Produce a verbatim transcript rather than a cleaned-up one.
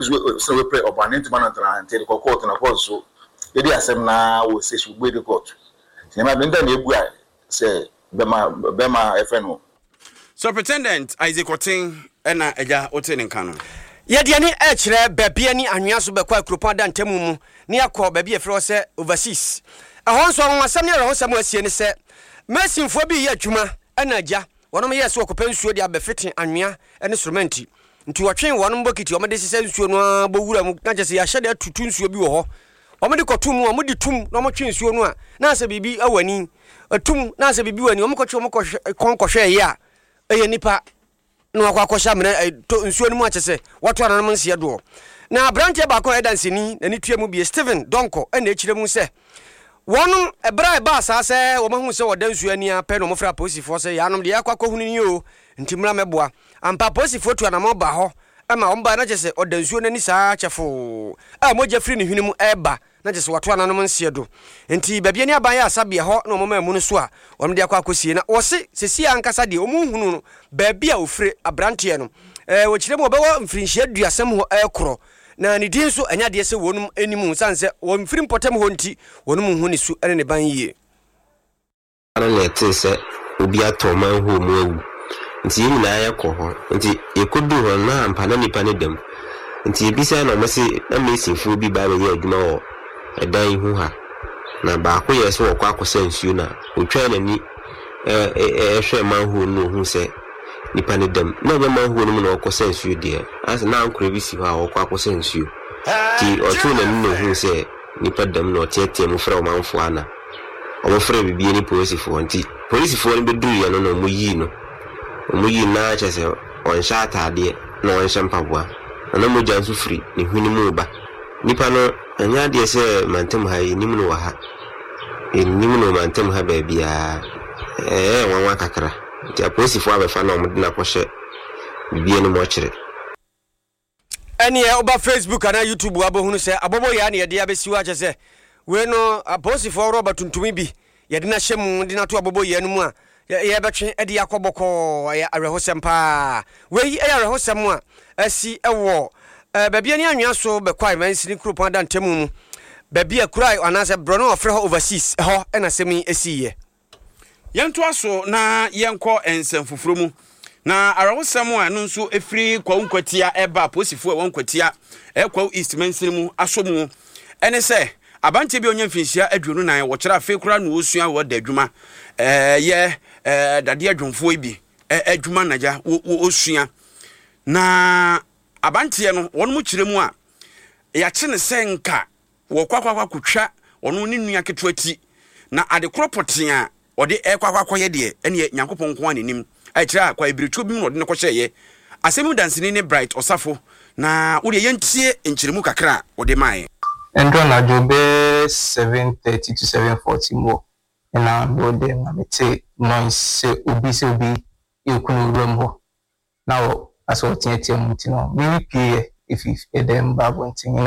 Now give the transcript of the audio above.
Sɛ wepɛ ɔba ne ntoma no ntena nti de kɔ court na court so yɛde asɛm na wɔ sɛ so de court nneɛma bi nta na ebu a sɛ bɛma bɛma ɛfɛ no. Superintendent Isaac Ɔten ɛna agya wote ne nka no. Yɛde ani ɛkyerɛ baabi ani anwea so bɛkɔ akuropɔn ada ntamu mu ne akɔ baabi yɛfrɛ hɔ sɛ Overseas. Ɛhɔ nso, anwanwasɛm ne awerɛhosɛm a asie ne sɛ masinfoɔ bi yɛ adwuma ɛna agya wɔnom yɛɛ sɛ wɔkɔpɛ nsuo de abɛfete anwea ne soromɛnti, nti wɔtwe wɔnom bokiti wɔde sesɛ nsuo no ara bɔ wura mu na kyerɛ sɛ yɛahyɛ de atutu nsuo bi wɔ hɔ. Wɔde kɔto mu a, wɔde tum na wɔtwe nsuo no a, na asɛ biribi wɔ ani atum, na asɛ biribi wɔ ani. Wɔn kɔtwe wɔn kɔhwɛ kɔn kɔhwɛ yɛ a, ɛyɛ nipa na wakɔ akɔhyɛ amena to nsuo no mu akyɛ sɛ wɔto ananom nseɛ doɔ. Na aberanteɛ baako a ɛda nsani n'ani tua mu bie, Stephen Dɔnkɔ, ɛna akyerɛ mu sɛ wɔnom ɛberɛ a ɛbaa saa sɛ wɔn ahu sɛ wɔda nsuo ani apɛ na wɔfrɛ apolisifoɔ sɛ yɛanom deɛ yɛakɔ akɔhunu ni o, nti mmra mɛboa. Ampa, apolisifoɔ tu anamɔ ba hɔ ɛma wɔn baa na kyerɛ sɛ ɔda nsuo n'ani saa kyɛfoo a mogya firi ne hwene mu ɛreba, na kyerɛ sɛ wato ananom nseɛ do. Nti baabi ani aban yɛ asabea hɔ na wɔn maa mu no so a wɔn de akɔ akɔsie. Na wɔse sɛsi ankasa deɛ wɔn nhunu no baabi a ofire aberanteɛ no. ɛɛ wɔkyerɛ mu ɔbɛwɔ mfirinhyia aduasam hɔ ɛɛkorɔ, na ne din nso ɛnyɛ adeɛ sɛ wɔn anim san sɛ wɔn mfiri mpɔtam hɔ, nti wɔn mu hu ne su ne ne ban yie. No na ɛtee sɛ obi atɔ manhole mu awu, nti yɛn nyinaa yɛkɔ hɔ. Nti yɛkɔduu hɔ no, na ampa na nipa no dam. Nti yɛbisa na ɔmo se na masonfoɔ bi ba bɛyɛ adwuma wɔ ɛdan yi ho ha, na baako yɛ sɛ wɔkɔ akɔsa nsuo na otwaa n'ani ɛhwɛ manhole no na ohuu sɛ nipa no dam. Na ɛnyɛ manhole no mu na ɔkɔsa nsuo deɛ, asɛ na ankorɛ bi si hɔ a ɔkɔ akɔsa nsuo, nti ɔtoo n'ani na ohuu sɛ nipa dam na ɔteatea mu frɛ ɔmanfoɔ ana ɔmofrɛ bibie ne polisifoɔ. Nti polisifoɔ no bɛduruiɛ no na ɔmo yii no ɔmo yii no na kyerɛ sɛ ɔnhyɛ ataadeɛ na ɔnhyɛ mpaboa na na mogya nso firi ne hwene mu ba. Nipa no, ɛnyɛ adeɛ sɛ mantam ha yi nim no wɔ ha, ɛnim no mantam ha baabiara. Ɛyɛ nwanwa kakra, nti apolisifoɔ abɛfa na ɔmo de no akɔhyɛ bibie no mu ɔkyerɛ. Ɛneɛ woba Facebook anaa YouTube abɛhunu sɛ abɔbɔ yɛ a ne yɛde abɛsi hɔ akyɛ sɛ wei no apolisifoɔ rɔba tuntumi bi yɛde no ahyɛ mu de no ato abɔbɔ yɛ no mu a yɛbɛtwe de akɔ bɔkɔɔ. Ɛyɛ awerɛhosɛm paa. Wei ɛyɛ awerɛhosɛm a asi ɛwɔ baabi ani anwea so bɛkɔ a mansini kuropɔn ada ntamu mu, baabi a kura anaasɛ borɔ no ɔfrɛ hɔ Overseas ɛhɔ ɛna asɛm yi asiiɛ. Yɛntoa so na yɛnkɔ nsɛm foforɔ mu. Na awerɛhosɛm a ɛno nso ɛfiri Kwawu Nkwatia ɛba, apolisifoɔ a ɛwɔ Nkwatia, ɛkwawu East mansini mu asɔ mu, ɛne sɛ aberanteɛ bi a ɔnya mfinhyia aduonu nan, wɔkyerɛ afei koraa na wɔsua wɔ da adwuma, ɛyɛ dadeɛ adwomfoɔ yi bi adwuma nagya wɔsua. Na aberanteɛ no, wɔn mo kyerɛ mu a yɛakye ne sɛ nka wɔkɔ akɔ akɔtwa ɔno ne nua ketewa ti, na ade korɔ pɔtee a ɔde ɛkɔ akɔ akɔyɛ deɛ, ɛneɛ Nyankopɔn nko a n'anim ɛkyerɛ a kwa ebirituo bi mu na ɔde no kɔhyɛeɛ. Asɛm mu danseni ne Bright Ɔsafo, na wodeɛ yɛntie nkyerɛmu kakra a wɔde maeɛ. Ndɔ anadwo bɛyɛ seven thirty to seven forty mu ɛna mewɔ dɛm na mete noise sɛ obi sɛ obi eku no wuram hɔ na wɔ asɛ ɔteatea mu, nti no mimi pie yɛ efi ɛdɛm ba abɔnten na